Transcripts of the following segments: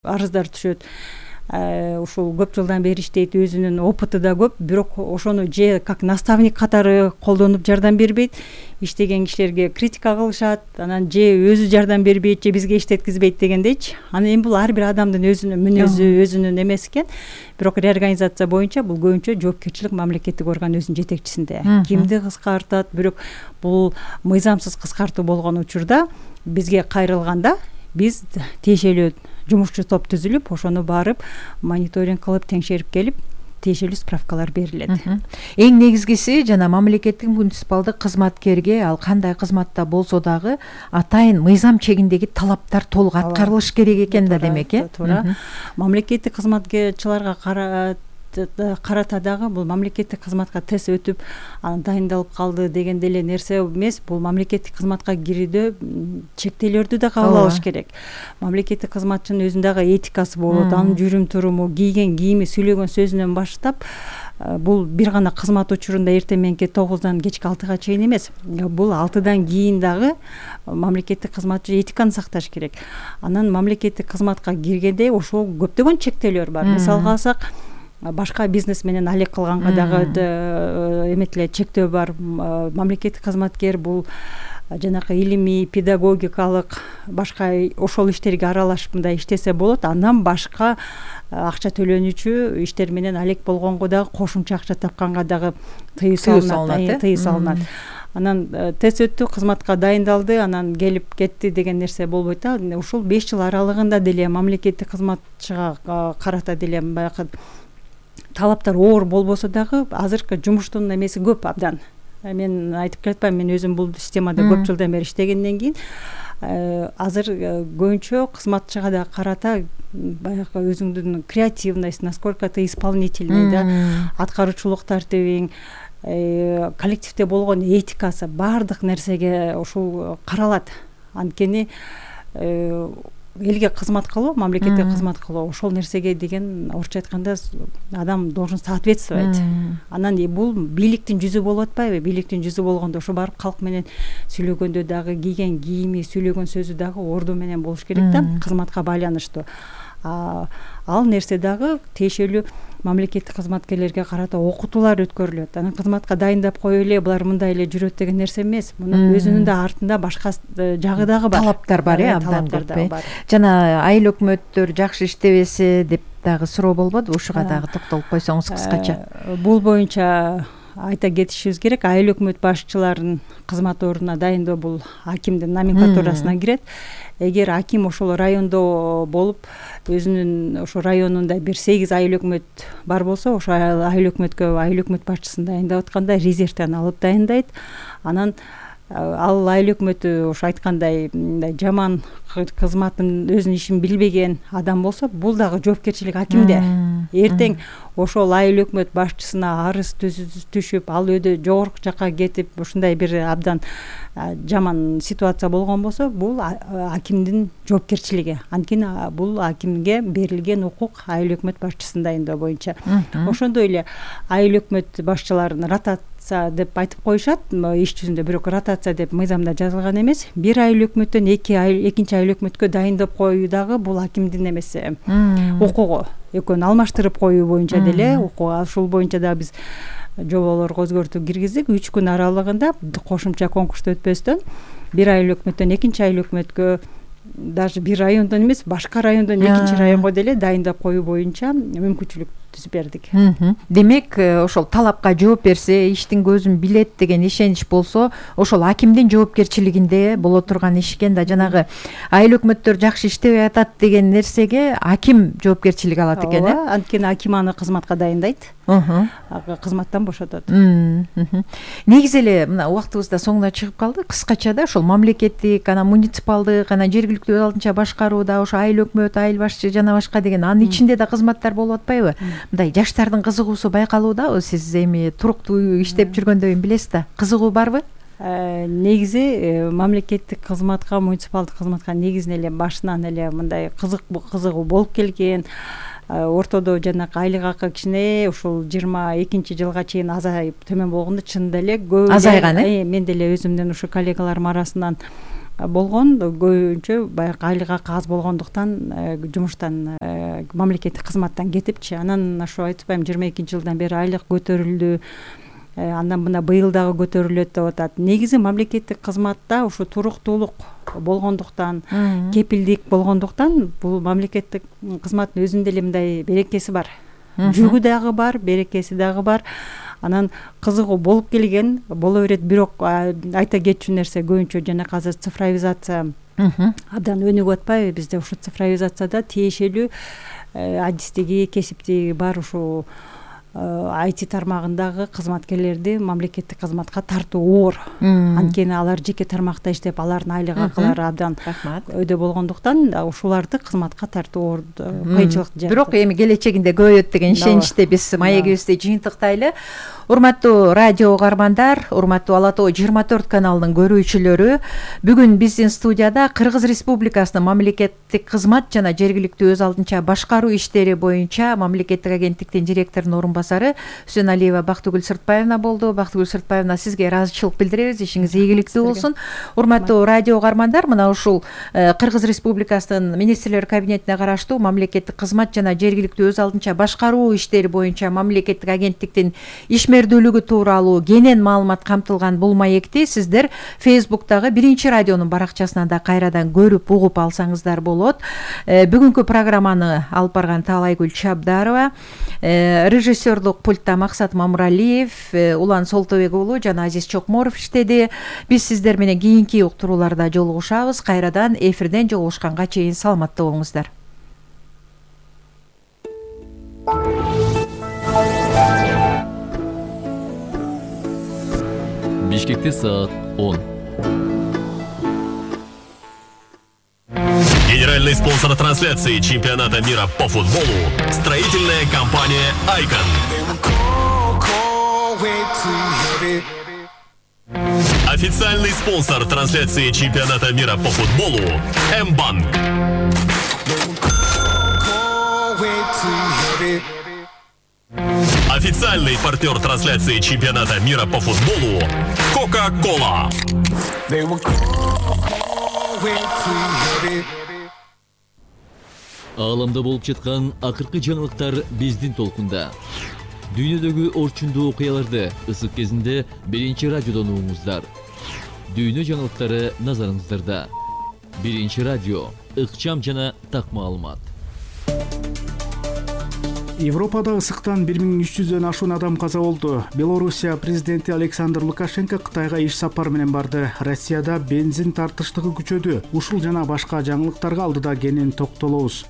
арыздар түшөт. Ушул көп жылдан бери иштейт, өзүнүн опыты да көп, бирок ошону же как наставник катары колдонуп жардам бербейт, иштеген кишилерге критика кылышат, анан же өзү жардам бербейт, же бизге иштеткизбейт дегендейчи. Анан эми бул ар бир адамдын өзүнүн мүнөзү, өзүнүн эмеси экен. Бирок реорганизация боюнча бул көбүнчө жоопкерчилик мамлекеттик орган өзүнүн жетекчисинде. Кимди кыскартат, бирок бул мыйзамсыз кыскартуу болгон учурда бизге кайрылганда биз тиешелүү жумушчу топ түзүлүп, ошону барып мониторинг кылып, теңшерип келип, тиешелүү справкалар берилет. Эң негизгиси жана мамлекеттик муниципалдык кызматкерге ал кандай кызматта болсо дагы атайын мыйзам чегиндеги талаптар толук аткарылыш керек экен да, демек, туура. Мамлекеттик кызматкерлерга карата дагы бул мамлекеттик кызматка тест өтүп, анан дайындалып калды деген деле нерсе эмес. Бул мамлекеттик кызматка кирүүдө чектөөлөрдү да кабыл алыш керек. Мамлекеттик кызматчынын өзүндөгү этикасы болот, анын жүрүм туруму, кийген кийими, сүйлөгөн сөзүнөн баштап, бул бир гана кызмат учурунда эртең мененки 9-дан кечки 6-га чейин эмес. Бул 6-дан кийин дагы мамлекеттик кызматчы этиканы сакташ керек. Анан мамлекеттик кызматка киргенде ошол көптөгөн чектөөлөр бар. Мисалга алсак, башка бизнес менен алек кылганга дагы эметиле чектөө бар. Мамлекеттик кызматкер бул жанакы илимий, педагогикалык башка ошол иштерге аралашып мындай иштесе болот. Андан башка акча төлөнүүчү иштер менен алек болгонго дагы кошумча акча тапканга дагы тыюу салынат. Анан тест өттү, кызматка дайындалды, анан келип кетти деген нерсе болбойт да. Ушул 5 жыл аралыгында деле мамлекеттик кызматчыга карата деле баягы талаптар оор болбосо дагы азыркы жумуштун эмеси көп абдан. Мен айтып келатпайм, мен өзүм бул системада көп жылдан бери иштегенден кийин азыр көбүнчө кызматчыга да карата баягы өзүңдүн креативность, насколько ты исполнительный да, аткаруучулук тартибиң, коллективде болгон этикасы, баардык нерсеге ушул каралат. Анткени элге кызмат кылуу, мамлекетке кызмат кылуу, ошол нерсеге деген орусча айтканда адам должен соответствовать. Анан бул бийликтин жүзү болуп атпайбы? Бийликтин жүзү болгондо ошо барып калк менен сүйлөгөндө дагы кийген кийими, сүйлөгөн сөзү дагы орду менен болуш керек да, кызматка байланыштуу. Ал нерсе дагы тиешелүү мамлекеттик кызматкерлерге карата окутуулар өткөрүлөт. Анан кызматка дайындап коюп эле булар мындай эле жүрөт деген нерсе эмес. Мунун өзүнүн да артында башка жагы дагы бар. Талаптар бар, абдан көп. Жана айыл өкмөттөр жакшы иштебесе деп дагы суроо болбодубу? Ушуга дагы токтолуп койсоңуз кыскача. Бул боюнча айта кетишибиз керек. Айыл өкмөт башчыларын кызмат ордуна дайындоо бул акимдин номенклатурасына кирет. Эгер аким ошол райондо болуп, өзүнүн ошо районунда бир 8 айыл өкмөт бар болсо, ошо айыл өкмөткө айыл өкмөт башчысын дайындап атканда резервден алып дайындайт. Анан ал айыл өкмөтү ошо айткандай жаман кызматын, өзүнүн ишин билбеген адам болсо, бул дагы жоопкерчилик акимде. Эртең ошол айыл өкмөт башчысына арыз түшүп, ал өйдө жогорку жакка кетип, ушундай бир абдан жаман ситуация болгон болсо, бул акимдин жоопкерчилиги. Анткени бул акимге берилген укук айыл өкмөт башчысын дайындоо боюнча. Ошондой эле айыл өкмөт башчыларын ротация деп айтып коюшат иш жүзүндө, бирок ротация деп мыйзамда жазылган эмес. Бир айыл өкмөттөн экинчи айыл өкмөткө дайындап коюу дагы бул акимдин эмеси, укугу. Экөөнү алмаштырып коюу боюнча деле укук. Ушул боюнча да биз жоболорго өзгөртүү киргиздик. 3 күн аралыгында кошумча конкурсту өтпөстөн бир айыл өкмөттөн экинчи айыл өкмөткө, даже бир райондон эмес, башка райондон экинчи районго деле дайындап коюу боюнча мүмкүнчүлүк түзүп бердик. Демек, ошол талапка жооп берсе, иштин көзүн билет деген ишенич болсо, ошол акимдин жоопкерчилигинде боло турган иш экен да. Жанагы айыл өкмөттөр жакшы иштебей атат деген нерсеге аким жоопкерчилик алат экен, Анткени аким аны кызматка дайындайт, кызматтан бошотот. Негизи эле мына убактыбыз да соңуна чыгып калды. Кыскача да ошол мамлекеттик, анан муниципалдык, анан жергиликтүү өз алдынча башкарууда ошо айыл өкмөт, айыл башчы жана башка деген анын ичинде да кызматтар болуп атпайбы? Мындай жаштардын кызыгуусу байкалуудабы? Сиз эми туруктуу иштеп жүргөндөн билесиз да, кызыгуу барбы? Негизи мамлекеттик кызматка, муниципалдык кызматка негизинен эле башынан эле мындай кызыгуу болуп келген. Ортодо жанакы айлык акы кичине ушул 22-жылга чейин азайып төмөн болгондо чынында эле көп азайган. Мен деле өзүмдүн ушу коллегаларым арасынан болгон, көбүнчө баягы айлык акы аз болгондуктан жумуштан мамлекеттик кызматтан кетипчи. Анан ошо айтып атпаймынбы, 22-жылдан бери айлык көтөрүлдү, андан мына быйыл дагы көтөрүлөт деп атат. Негизи мамлекеттик кызматта ушу туруктуулук болгондуктан, кепилдик болгондуктан бул мамлекеттик кызматтын өзүндө эле мындай берекеси бар. Жүгү дагы бар, берекеси дагы бар. Анан кызыгуу болуп келген, боло берет. Бирок айта кетчү нерсе, көбүнчө жана азыр цифровизация абдан өнүгүп атпайбы? Бизде ушу цифровизацияда тиешелүү адистиги, кесиптиги бар ушу IT тармагындагы кызматкерлерди мамлекеттик кызматка тартуу оор. Анткени алар жеке тармакта иштеп, алардын айлык акылары абдан өйдө болгондуктан ушуларды кызматка тартуу оор кыйынчылык жатат. Бирок эми келечегинде көбөйөт деген ишеничте биз маегибизди жыйынтыктайлы. Урматтуу радио угармандар, урматтуу Ала Тоо 24 каналынын көрүүчүлөрү, бүгүн биздин студияда Кыргыз Республикасынын мамлекеттик кызмат жана жергиликтүү өз алдынча башкаруу иштери боюнча мамлекеттик агенттиктин директорунун орун басары Үсөналиева Бактыгүл Сыртбаевна болду. Бактыгүл Сыртбаевна, сизге ыраазычылык билдиребиз. Ишиңиз ийгиликтүү болсун. Урматтуу радио угармандар, мына ушул Кыргыз Республикасынын министрлер кабинетине караштуу мамлекеттик кызмат жана жергиликтүү өз алдынча башкаруу иштери боюнча мамлекеттик агенттиктин ишмердүүлүгү тууралуу кенен маалымат камтылган бул маекти сиздер Facebook'тагы Биринчи радионун баракчасынан да кайрадан көрүп угуп алсаңыздар болот. Бүгүнкү программаны алып барган Таалайгүл Чабдарова, режиссерлук пультта Максат Мамуралиев, Улан Солтобек уулу жана Азиз Чокморов иштеди. Биз сиздер менен кийинки уктурууларда жолугушабыз. Кайрадан эфирден жолугушканга чейин саламатта болуңуздар. Бишкекте саат 10. Генеральный спонсор трансляции чемпионата мира по футболу – строительная компания «Айкон». Официальный спонсор трансляции чемпионата мира по футболу – М-банк. Официальный партнер трансляции чемпионата мира по футболу – Кока-Кола. Ааламда болуп жаткан акыркы жаңылыктар биздин толкунда. Дүйнөдөгү орчундуу окуяларды ысык кезинде Биринчи радиодон угуңуздар. Дүйнө жаңылыктары назарыңыздарда. Биринчи радио, ыкчам жана так маалымат. Европада ысыктан 1300дөн ашуун адам каза болду. Белоруссия президенти Александр Лукашенко Кытайга иш сапар менен барды. Россияда бензин тартыштыгы күчөдү. Ушул жана башка жаңылыктарга алдыда кенен токтолобуз.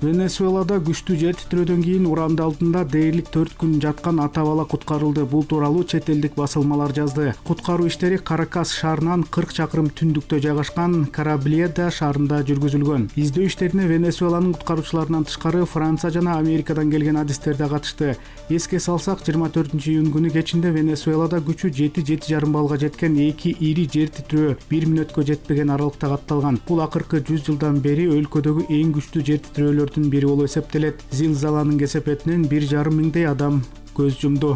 Венесуэлада күчтүү жер титирөөдөн кийин уранды алдында дээрлик 4 күн жаткан ата бала куткарылды. Бул тууралуу чет элдик басылмалар жазды. Куткаруу иштери Каракас шаарынан 40 чакырым түндүктө жайгашкан Карабледа шаарында жүргүзүлгөн. Издөө иштерине Венесуэланын куткаруучуларынан тышкары Франция жана Америкадан келген адистер да катышты. Эске салсак, 24-июнь күнү кечинде Венесуэлада күчү 7,5 баллга жеткен 2 ири жер титирөө 1 мүнөткө жетпеген аралыкта катталган. Бул акыркы 100 жылдан бери өлкөдөгү эң күчтүү жер титирөөлөр бири болуп эсептелет. Зилзаланын кесепетинен 1,5 миңдей адам көз жумду.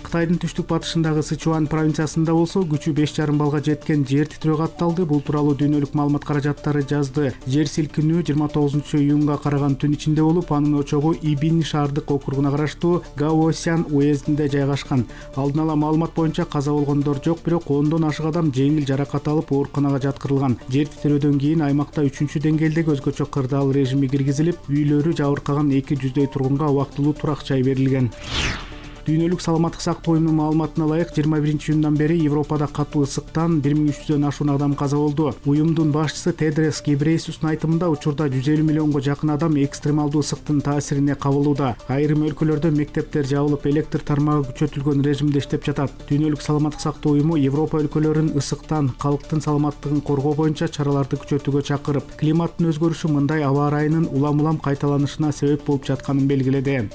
Кытайдын түштүк батышындагы Сычуан провинциясында болсо күчү 5,5 баллга жеткен жер титирөө катталды. Бул тууралуу дүйнөлүк маалымат каражаттары жазды. Жер силкинүү 29-июнга караган түн ичинде болуп, анын очогу Ибин шаардык округуна караштуу Гаосян уездинде жайгашкан. Алдын ала маалымат боюнча каза болгондор жок, бирок 10дон ашык адам жеңил жаракат алып ооруканага жаткырылган. Жер титирөөдөн кийин аймакта 3-чү деңгээлдеги өзгөчө кырдаал режими киргизилип, үйлөрү жабыркаган 200дөй тургунга убактылуу турак жай берилген. Дүйнөлүк саламаттык сактоо уюмунун маалыматына ылайык 21-июндан бери Европада катуу ысыктан 1300дөн ашуун адам каза болду. Уюмдун башчысы Тедрос Гебрейесустун айтымында учурда 150 миллионго жакын адам экстремалдуу ысыктын таасирине кабылууда. Айрым өлкөлөрдө мектептер жабылып, электр тармагы күчөтүлгөн режимде иштеп жатат. Дүйнөлүк саламаттык сактоо уюму Европа өлкөлөрүн ысыктан, калктын саламаттыгын коргоо боюнча чараларды күчөтүүгө чакырып, климаттын өзгөрүшү мындай аба ырайынын улам-улам кайталанышына себеп болуп жатканын белгиледи.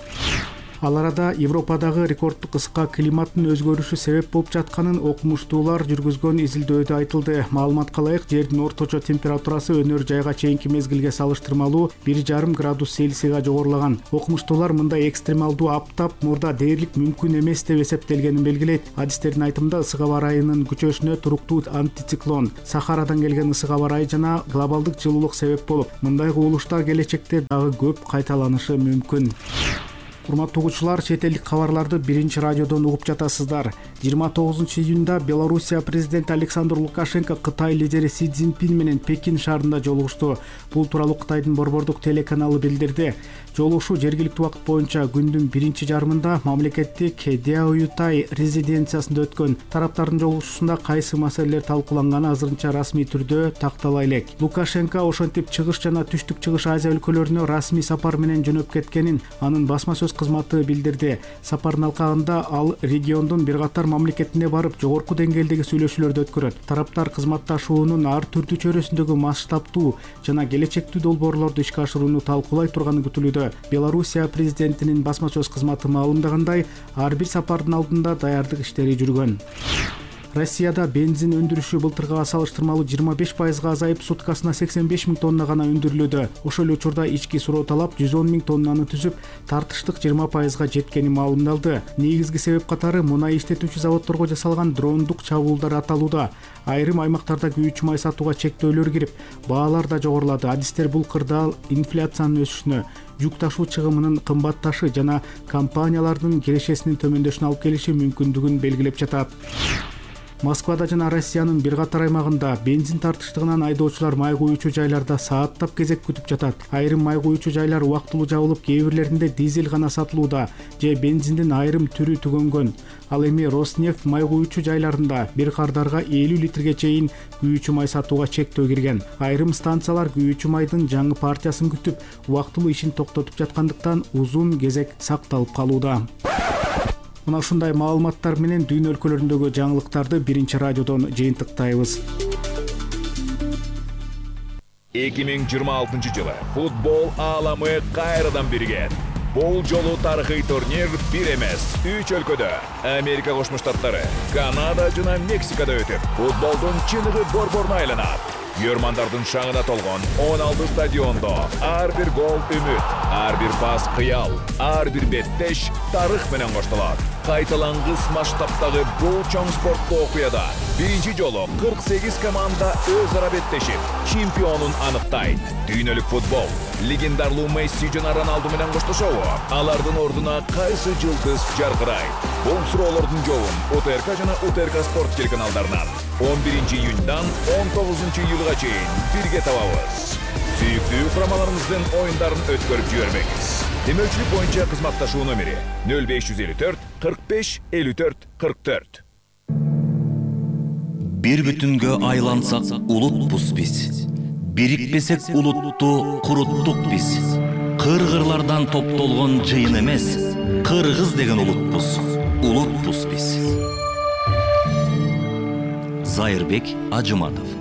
Ал арада Европадагы рекорддук ысыкка климаттын өзгөрүшү себеп болуп жатканын окумуштуулар жүргүзгөн изилдөөдө айтылды. Маалыматка ылайык, жердин орточо температурасы өнөр жайга чейинки мезгилге салыштырмалуу 1,5 градус Цельсийга жогорулаган. Окумуштуулар мындай экстремалдуу аптап мурда дээрлик мүмкүн эмес деп эсептелгенин белгилейт. Адистердин айтымында ысык аба ырайынын күчөшүнө туруктуу антициклон, Сахарадан келген ысык аба ырайы жана глобалдык жылуулук себеп болуп, мындай кубулуштар келечекте дагы көп кайталанышы мүмкүн. Урматтуу угуучулар, чет элдик кабарларды Биринчи радиодон угуп жатасыздар. 29-июнда Белоруссия президенти Александр Лукашенко Кытай лидери Си Цзиньпин менен Пекин шаарында жолугушту. Бул тууралуу Кытайдын борбордук телеканалы билдирди. Жолугушуу жергиликтүү убакыт боюнча күндүн биринчи жарымында мамлекеттик Дяоютай резиденциясында өткөн. Тараптардын жолугушуусунда кайсы маселелер талкууланганы азырынча расмий түрдө тактала элек. Лукашенко ошентип чыгыш жана түштүк чыгыш Азия өлкөлөрүнө расмий сапар менен жөнөп кеткенин анын басма сөз кызматы билдирди. Сапардын алкагында ал региондун бир катар мамлекетине барып, жогорку деңгээлдеги сүйлөшүүлөрдү өткөрөт. Тараптар кызматташуунун ар түрдүү чөйрөсүндөгү масштабтуу жана келечектүү долбоорлорду ишке ашырууну талкуулай турганы күтүлүүдө. Белоруссия президентинин басма сөз кызматы маалымдагандай, ар бир сапардын алдында даярдык иштери жүргөн. Россияда бензин өндүрүшү былтыркыга салыштырмалуу 25% азайып, суткасына 85 000 тонна гана өндүрүлүүдө. Ошол эле учурда ички суроо талап 110 000 тоннаны түзүп, тартыштык 20%га жеткени маалымдалды. Негизги себеп катары мунай иштетүүчү заводдорго жасалган дрондук чабуулдар аталууда. Айрым аймактарда күйүүчү май сатууга чектөөлөр кирип, баалар да жогорулады. Адистер бул кырдаал инфляциянын өсүшүнө, жүк ташуу чыгымынын кымбатташы жана компаниялардын кирешесинин төмөндөшүнө алып келиши мүмкүндүгүн белгилеп жатат. Москвада жана Россиянын бир катар аймагында бензин тартыштыгынан айдоочулар май куюучу жайларда сааттап кезек күтүп жатат. Айрым май куюучу жайлар убактылуу жабылып, кээ бирлеринде дизель гана сатылууда же бензиндин айрым түрү түгөнгөн. Ал эми Роснефть май куюучу жайларында бир кардарга 50 литрге чейин күйүүчү май сатууга чектөө кирген. Айрым станциялар күйүүчү майдын жаңы партиясын күтүп, убактылуу ишин токтотуп жаткандыктан узун кезек сакталып калууда. Мына ушундай маалыматтар менен дүйнө өлкөлөрүндөгү жаңылыктарды Биринчи радиодон жыйынтыктайбыз. 2026 жылы футбол ааламы кайрадан биригет. Бул жолу тарыхый турнир бир эмес, 3 өлкөдө — Америка Кошмо Штаттары, Канада жана Мексикада өтүп, футболдун чыныгы борборуна айланат. Көрмандардын шаңына толгон 16 стадиондо ар бир гол үмүт, ар бир пас кыял, ар бир беттеш тарых менен коштолот. Кайталангыс масштабтагы бул чоң спорттуу окуяда биринчи жолу 48 команда өз ара беттешип, чемпионун аныктайт. Дүйнөлүк футбол легендарлуу Месси жана Роналду менен коштошобу? Алардын ордуна кайсы жылдыз жаркырайт? Бул суроолордун жообун УТРК жана УТРК спорт телеканалдарынан 11 июньдан 19 июлга чейин бирге табабыз. Сүйүктүү курамаларыңыздын оюндарын өткөрүп жибербеңиз. Демөөлчүлүк боюнча кызматташуу номери 0554 45 54 44. Бир бүтүнгө айлансак улутпуз биз. Бирикпесек улутту куруттук биз. Кыргырлардан топтолгон жыйын эмес, кыргыз деген улутпуз. Улутпуз биз. Зайырбек Ажыматов.